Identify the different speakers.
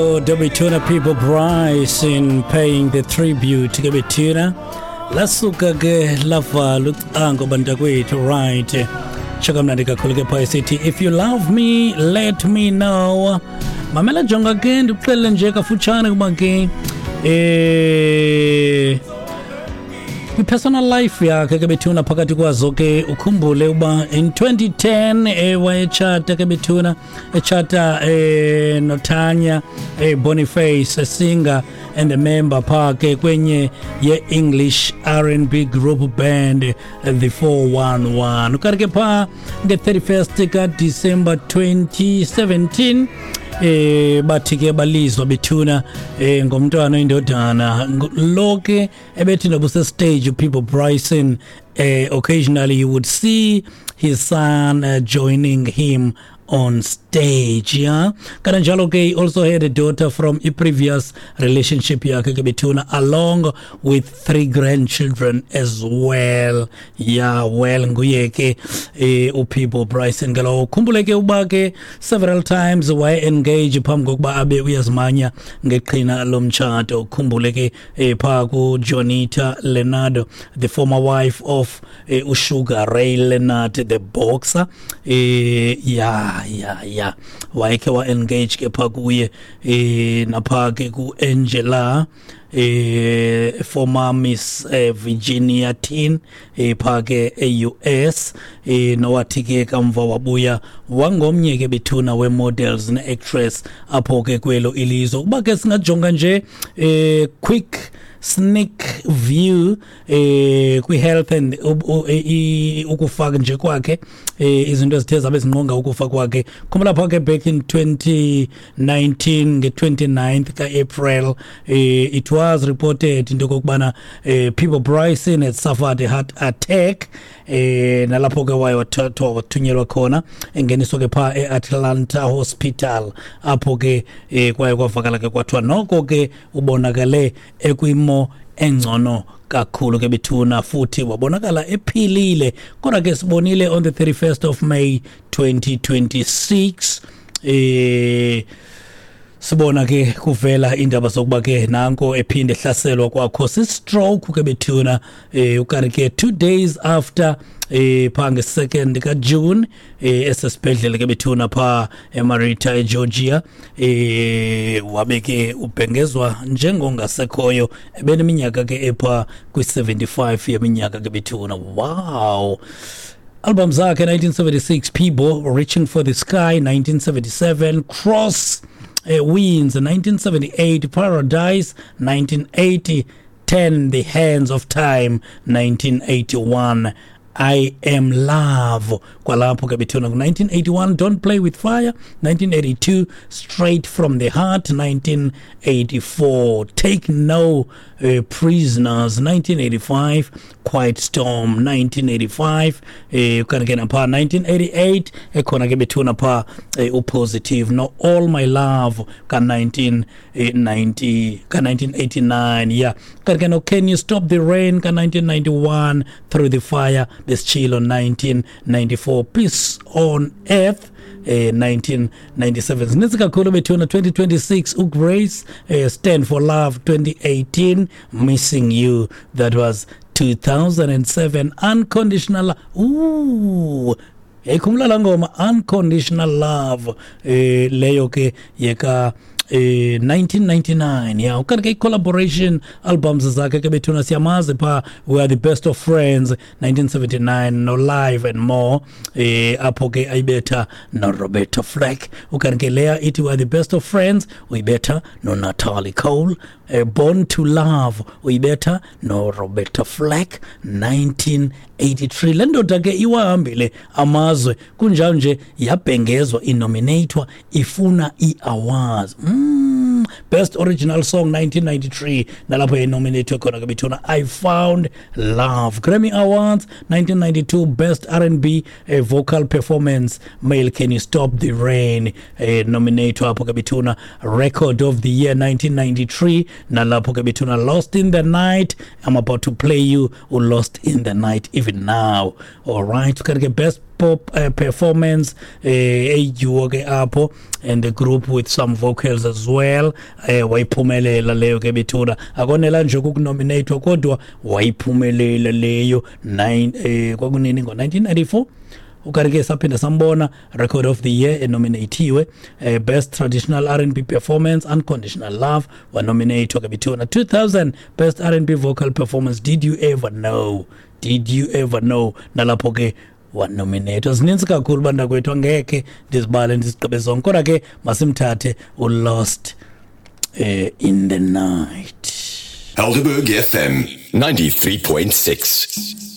Speaker 1: Dobituna People Bryson paying the tribute ke bethina lasuka ke lavala ucango bantakwethu, right? Tsho kamnandi kakhulu ke phaa isithi, "If you love me, let me know." Mamela, jonga ke, ndikuxelele nje kafutshane kuba ke kwi-personal life yakhe ke bethuna, phakathi kwazo ke ukhumbule uba in 2010 wayetshata ke bethuna, etshata noTanya Boniface, a singer and a member phaa ke kwenye ye-English R&B group band The 411. Ukanti ke phaa nge-31st kaDisemba 2017 bathi ke balizwa bethuna ngomntwana oyindodana. Lo ke ebethi noba stage Peabo Bryson, occasionally you would see his son joining him on stage, yeah. Kananjalo ke he also had a daughter from a previous relationship yakhe ke bethuna, along with three grandchildren as well, yeah. Well, nguye ke uPeabo Bryson ke lowo. Khumbule ke uba ke several times waye engage phambi kokuba abe uyazimanya ngeqhina lomtshato. Khumbule ke phaa kuJonita Leonard, the former wife of uSugar Ray Leonard, the boxer. Yeah, wayekhe wa-engage ke phaa kuye, naphaa ke ku-Angela, former Miss Virginia Teen phaa ke e-US, nowathi ke kamva wabuya wangomnye ke bethuna we-models ne-actress apho ke kwelo ilizwe. Ukuba ke singajonga nje quick sneak view kwi-health and ukufa nje kwakhe, izinto ezithe zabe zinqonga ukufa kwakhe, khumbula pha ke back in 2019 nge-29th ka-April, it was reported into okokubana Peabo Bryson had suffered a heart attack, nalapho ke waye wathathwa wathunyelwa khona, engeniswa ke phaa e-Atlanta Hospital, apho ke kwaye kwavakala ke kwathiwa noko ke ubonakale ekwimo engcono kakhulu ke bethuna, futhi wabonakala ephilile. Kodwa ke sibonile on the 31st of May 2026, sibona ke kuvela indaba zokuba ke nanko ephinde ehlaselwa kwakho si-stroke ke bethuna. Ukanti ke 2 days after, pha nge-2nd kaJune, esesibhedlele ke bethuna pha eMarietta eGeorgia, wabe ke ubhengezwa njengongasekhoyo, ebeneminyaka ke epha kwi-75 yeminyaka ke bethuna. Wow. Album zakhe: 1976 Peabo, Reaching for the Sky; 1977 Cross Winds; 1978 Paradise; 1980 Turn the Hands of Time; 1981 I Am Love; kwalapho ke bethuna ku-1981 Don't Play with Fire; 1982 Straight from the Heart; 1984 Take No Prisoners; 1985 Quiet Storm; 1985 kanti ke napha 1988 ekhona ke bethuna pha uPositive no All My Love ka-1990 ka-1989, yeah. Kanti ke no Can You Stop the Rain ka-1991, Through the Fire besitshilo 1994, Peace on Earth 1997. Zininzi kakhulu bethuna. 2026 uGrace, Stand for Love 2018, Missing You, that was 2007, Unconditional. Ooh, yayikhumbula laa ngoma Unconditional Love, leyo ke yeka 1999, yeah. Ukanti ke i-collaboration albums zakhe ke bethuna, siyamazi pha We Are the Best of Friends 1979, no Live and More, apho ke ayibetha no Roberta Flack. Ukanti ke leya ithi We Are the Best of Friends uyibetha no Natalie Cole. Born to Love uyibetha no Roberta Flack 1983. Le ndoda ke iwahambile amazwe, kunjalo nje yabhengezwa, inominatwa, ifuna ii-awards. Best Original Song 1993, nalapho yayinominatwe khona ke bethuna, I Found Love. Grammy Awards 1992, Best R&B Vocal Performance Male, Can You Stop the Rain, nominatwa apho ke bethuna. Record of the Year 1993, nalapho ke bethuna Lost in the Night. I'm about to play you Lost in the Night even now, all right? Kanti ke best Pop Performance, eyiduo ke apho and the group with some vocals as well. Wayiphumelela leyo ke bethuna. Akonela nje ukunominatwa kodwa wayiphumelela leyo 9 kwakunini, ngo-1994. Ukanti ke saphinda sambona Record of the Year enominatiwe, Best Traditional R&B Performance, Unconditional Love, wanominatwa ke bethuna. 2000, Best R&B Vocal Performance, Did You Ever Know, Did You Ever Know, nalapho ke wanominatwa. Zininzi kakhulu bantakwethu, angekhe ndizibale ndizigqibe zonke, kodwa ke masimthathe uLost in the Night.
Speaker 2: Helderberg FM 93.6.